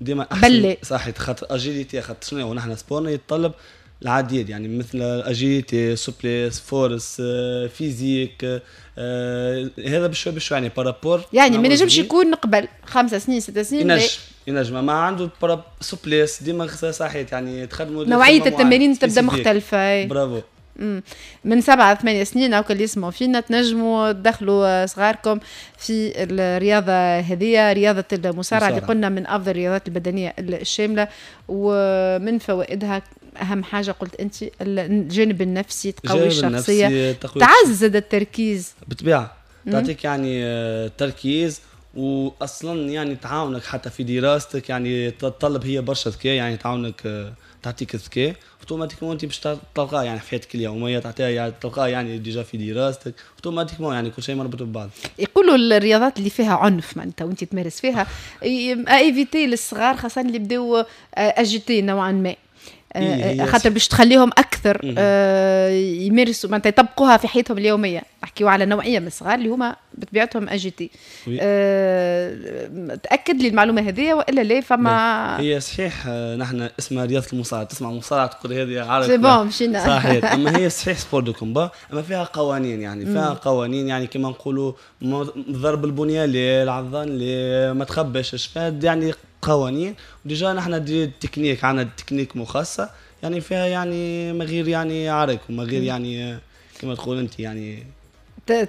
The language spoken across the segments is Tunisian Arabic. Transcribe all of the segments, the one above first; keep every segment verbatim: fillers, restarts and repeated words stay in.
ديما احسن. صحيح، خاطر agilité، خاطر شنو نحن sport نا يتطلب العديد، يعني مثل agilité، souplesse، force، physique، آه هذا بشوي بشوي يعني par rapport. يعني ما ينجمش يكون قبل خمسة سنين، ست سنين؟ ينجم ينجم، ما عنده souplesse ديما صحيح، يعني تخدموا نوعية التمارين تبدا مختلفه. برافو. من سبعة ثمانية سنين أو اللي يسمعوا فينا تنجموا تدخلوا صغاركم في الرياضة هذه، رياضة المصارعة اللي قلنا من أفضل الرياضات البدنية الشاملة، ومن فوائدها اهم حاجة قلت انت الجانب النفسي، تقوي الشخصيه، تعزز التركيز. بالطبيعه، تعطيك يعني آه، تركيز، واصلا يعني تعاونك حتى في دراستك، يعني تتطلب هي برشا ذكاء، يعني تعاونك آه، تعطيك الذكاء automatiquement انت باش تلقاه يعني في حياتك اليوميه، تعطيها يعني تلقاه يعني déjà في دراستك automatiquement، يعني كل شيء مربوط ببعض. يقولوا الرياضات اللي فيها عنف معناتها وانت تمارس فيها à éviter للصغار، خاصة اللي بداو agités نوعا ما، إيه آه، خاطر باش تخليهم اكثر آه، يمارسوا معناتها يطبقوها في حياتهم اليوميه. نحكيو على نوعية من الصغار اللي هما بطبيعتهم agités. أه تاكد لي المعلومة هذه والا لا؟ فما هي صحيح، آه، نحن اسمها رياضة المصارعه، تسمع مصارعه تقول هذه عارف c'est bon مشينا. صحيح، اما هي صحيح sport de combat، اما فيها قوانين، يعني فيها قوانين، يعني كما نقولوا ضرب البنية لا، العضان لا، ما تخبش، فيها يعني قوانين. و déjà نحن des techniques، عندنا تكنيك مخصصه، يعني فيها يعني ما غير يعني عرك وما غير يعني كما تقول انت يعني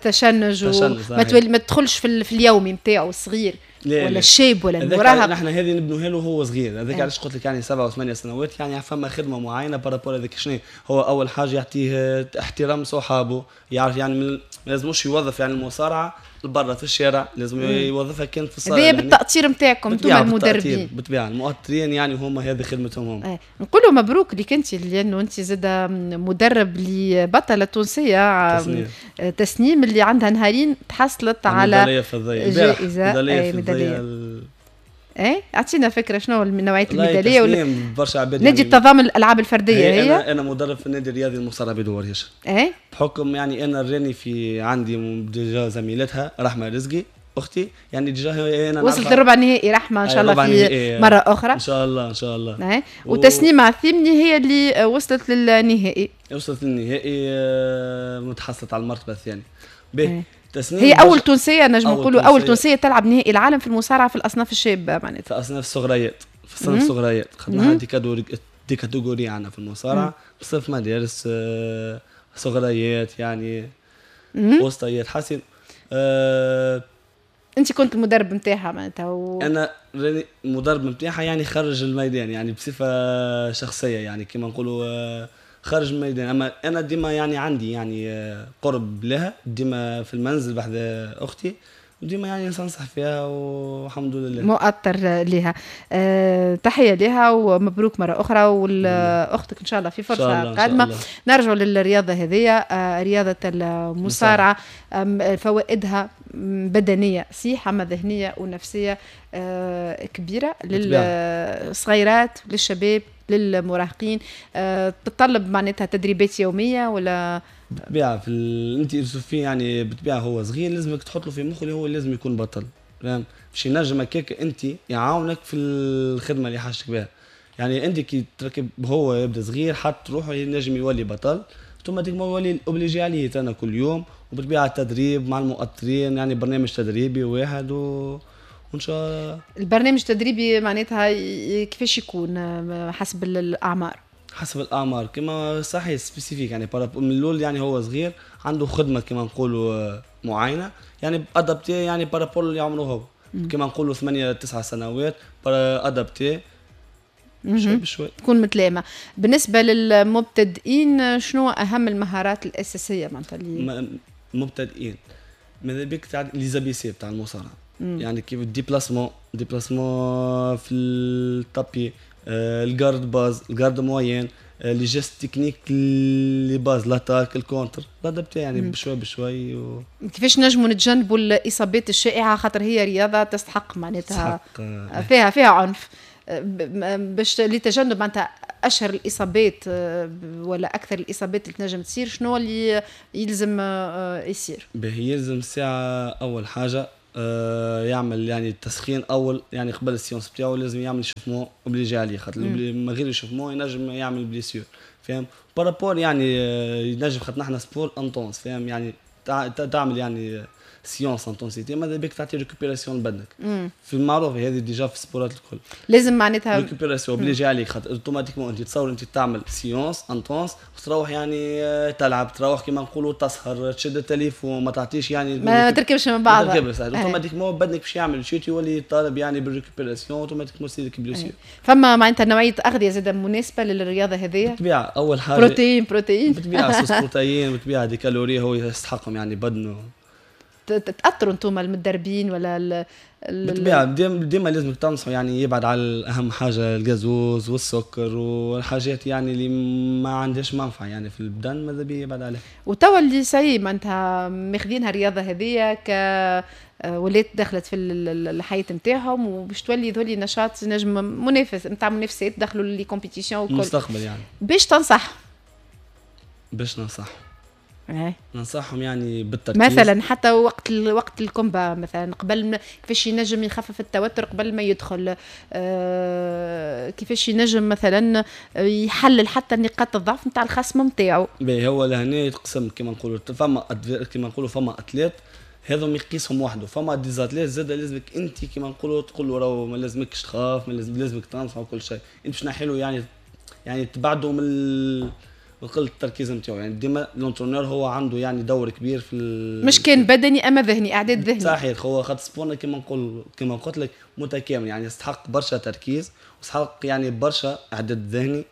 تشنج، وما تولي ما تدخلش في, في اليومي نتاعو الصغير ولا الشاب ولا المراهق. نحن هذه نبنوها له وهو صغير، هذاك علاش قلت لك يعني سبعة وثمانية سنوات، يعني فما خدمة معينة par rapport هذاك. شنو هو؟ اول حاجة يعطيه احترام صحابه، يعرف يعني ما لازموش يوظف يعني المصارعة برا في الشارع، لازم يوظفها كان في الصاله. هذا يعني بالتأطير نتاعكم انتم المدربين. بالطبيعه، المؤطرين يعني هما هذه خدمتهم هم. اه. نقولوا مبروك لك انت، لانه انت زاد مدرب لبطله تونسية تسنيم. تسنيم اللي عندها نهارين تحصلت على جائزه، ميداليه ميداليه. ايه، اعطينا فكرة شنو نوعية الميداليه؟ ولا برشا عباد نادي يعني التضامن الالعاب الفردية هي, هي انا انا مدرب في النادي الرياضي المصارعة بدوار هيشر. ايه بحكم يعني انا راني في عندي déjà زميلتها رحمه رزقي اختي، يعني déjà انا وصلت للربع النهائي رحمه، ان شاء الله في مرة اخرى. ان شاء الله، ان شاء الله. ايه و... وتسنيم عثيمني هي اللي وصلت للنهائي. وصلت للنهائي، آه، متحصلت على المرتبة الثانية. باهي، تسنيم هي اول تونسيه، نجم نقولوا اول تونسية تلعب نهائي العالم في المصارعة في الاصناف الشابة معناتها. في اصناف الصغريات، في الصنف الصغريات، خدناها des catégories des catégories عندنا في المصارعه، صنف مدارس، آه، صغريات، يعني وسطيات، حاسين أه انت كنت المدرب نتاعها معناتها و... انا المدرب نتاعها يعني خارج الميدان، يعني بصفة شخصيه، يعني كما نقولوا آه، خارج الميدان، اما انا ديما يعني عندي يعني آه، قرب لها، ديما في المنزل بحذا اختي، وديما يعني ننصح فيها والحمد لله. مؤطر لها. أه تحية لها ومبروك مرة اخرى، واختك ان شاء الله في فرصة قادمه. نرجع للرياضة هذه، أه رياضة المصارعه، فوائدها بدنية صحيحه اما ذهنية ونفسية أه كبيرة للصغيرات، للشباب، للمراهقين. أه تتطلب معناتها تدريبات يومية ولا؟ بالطبيعه، في ال... انت في يعني بالطبيعة هو صغير، لازمك تحط له في مخه اللي هو لازم يكون بطل، فاهم؟ باش ينجم هكاك انت يعاونك في الخدمة اللي حاجتك بها. يعني انت كي تركب هو يبدا صغير حط روحه ينجم يولي بطل، automatiquement يولي obligé عليه انا كل يوم، وبالطبيعه التدريب مع المؤطرين، يعني برنامج تدريبي واحد و وان شاء الله. البرنامج التدريبي معناتها كيفاش يكون حسب الاعمار؟ حسب الاعمار كما صحيح spécifique، يعني من الاول يعني هو صغير عنده خدمة كما نقولوا معينه، يعني adaptée يعني par rapport اللي عمره هو، كما نقولوا ثمانية تسعة سنوات adaptée شوي بشوي. تكون متلائمه. بالنسبة للمبتدئين شنو اهم المهارات الاساسية معناتها اللي مبتدئين؟ ماذا بك تاع les ABC تاع المصارعه، يعني كيف ال déplacement déplacement في ال tapis، آه، ال garde basse، ال garde moyenne، les gestes techniques les bases، l'attaque، ال contre، l'adapté يعني بشوي بشوي و... كيفاش نجموا نتجنبوا الاصابات الشائعه؟ خاطر هي رياضة تستحق معناتها تستحق آه، فيها فيها عنف، باش لتجنب معناتها اشهر الاصابات آه، ولا اكثر الاصابات اللي تنجم تصير، شنو اللي يلزم آه، يصير؟ باهي، يلزم الساعة اول حاجة آه يعمل يعني التسخين اول، يعني قبل ال séance بتاعو لازم يعمل échauffement obligé عليه، خاطر من غير échauffement ينجم يعمل blessure، فاهم؟ par rapport يعني آه، ينجم، خاطر نحن sport intense، فاهم؟ يعني تعمل يعني séance intensité، ماذا بك تعطي récupération لبدنك. في المعروف هذه déjà في السبورات الكل. لازم معناتها récupération obligé عليك، خاطر automatiquement انت تصور انت تعمل séance intense وتروح يعني آه، تلعب، تروح كيما نقولوا تسهر، تشد التليفون، ما تعطيش يعني ما تركبش من بعضها. ما تركبش، automatiquement بدنك باش يعمل chute، يولي طالب يعني بال récupération، automatiquement تصير blessure. فما معناتها نوعية اغذيه زاده مناسبة للرياضة هذه؟ بالطبيعه، اول حاجة بروتين بروتين. بالطبيعة source protéines، بالطبيعة des calories هو يستحقهم يعني بدنه. تاثروا انتم المدربين ولا ال بالطبيعه، ديما ديما لازم تنصحوا يعني يبعد على اهم حاجة الغازوز والسكر والحاجات يعني اللي ما عندهاش منفعه يعني في البدن، ماذا بيه يبعد عليها. وتوا اللي ça y est معناتها ماخذينها الرياضة هذيا ك ولات دخلت في الحياة نتاعهم، وباش تولي ذولي نشاط نجم منافس نتاع منافسات، دخلوا les compétitions وكل المستقبل يعني. باش تنصح؟ باش ننصح؟ ننصحهم يعني بالتركيز. مثلا حتى وقت وقت ال combat مثلا، قبل كيفاش ينجم يخفف التوتر قبل ما يدخل، آه كيفاش ينجم مثلا يحلل حتى نقاط الضعف نتاع الخصم نتاعو؟ باهي، هو لهنا يتقسم كما نقولوا، فما كما نقولوا فما athlètes هذم يقيسهم وحده، فما des athlètes زاد لازمك انت كما نقولوا تقول له راهو ما لازمكش تخاف، ما لازم لازمك تنصح وكل شيء، انت باش نحيله يعني يعني تبعده من وقلة التركيز نتاعو. يعني ديما l'entraîneur هو عنده يعني دور كبير في مش كان بدني اما ذهني، اعداد ذهني. صحيح، هو خاطر sport نا كما نقول كما قلت لك متكامل، يعني يستحق برشا تركيز ويستحق يعني برشا اعداد ذهني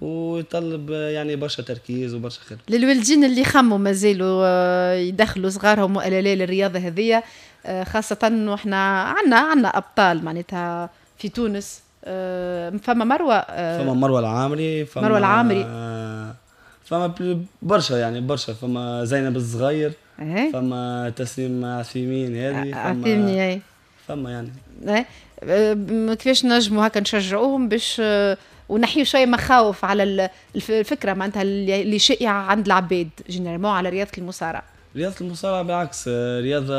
ويطلب يعني برشا تركيز وبرشا خدمة. للوالدين اللي خموا مازالوا آه، يدخلوا صغارهم والا لا للرياضة هذيا، آه، خاصة واحنا عندنا عندنا ابطال معناتها في تونس، آه، فما مروه. فما مروه العامري. فما مروه العامري. فما برشا يعني برشا، فما زينب الصغير، إيه؟ فما تسليم عثيمين هذه. فما فما يعني إيه؟ كيفاش نجموا هكا نشجعوهم باش ونحيوا شوية مخاوف على الفكرة معناتها اللي شائعة عند العباد généralement على رياضة المصارعة؟ رياضة المصارعة بالعكس رياضة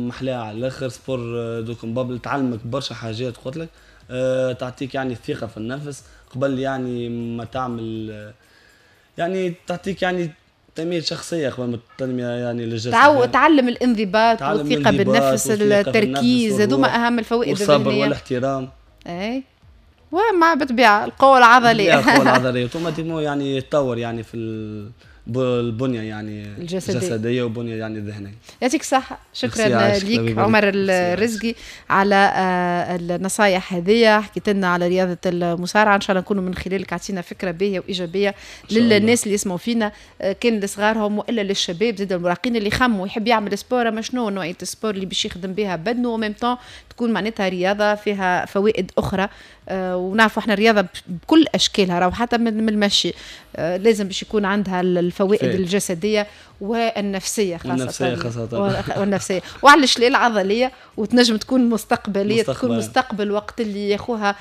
محلاها على الاخر، sport de combat تعلمك برشا حاجات، قلت لك أه، تعطيك يعني الثقة في النفس قبل يعني ما تعمل، يعني تعطيك يعني تنمية شخصية قبل ما التنمية يعني للجسد. تعو... تعلم الانضباط والثقة بالنفس، التركيز، هذوما أهم الفوائد. والصبر والاحترام. اي، ومع بالطبيعة القوة العضلية. القوة العضلية automatiquement يعني يتطور يعني في البنية يعني الجسدية, الجسدية وبنية يعني الذهنية. يعطيك الصحة، شكرا لك عمر الرزقي على آه، النصايح هذه، حكيت لنا على رياضة المصارعة. إن شاء الله نكونوا من خلالك عطينا فكرة باهية وإيجابية للناس اللي يسمعوا فينا، آه، كان لصغارهم وإلا للشباب زاد المراهقين اللي خموا يحب يعمل sport، ما شنو نوعية ال sport اللي باش يخدم بها بدنه و même temps تكون معناتها رياضة فيها فوائد أخرى. آه، ونعرفوا احنا الرياضة بكل اشكالها راهو حتى من المشي آه، لازم باش يكون عندها الفوائد فيه. الجسدية والنفسية خاصة. والنفسية خاصة. والنفسية وعلاش لا العضليه، وتنجم تكون مستقبليه مستقبل. تكون مستقبل وقت اللي ياخوها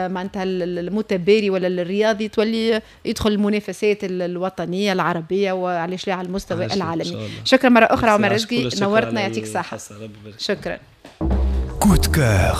معناتها المتباري ولا الرياضي تولي يدخل المنافسات الوطنية العربية وعلاش لا على المستوى العالمي. شكرا مرة اخرى عمر رزقي، نورتنا، يعطيك الصحه، شكرا. coup de cœur.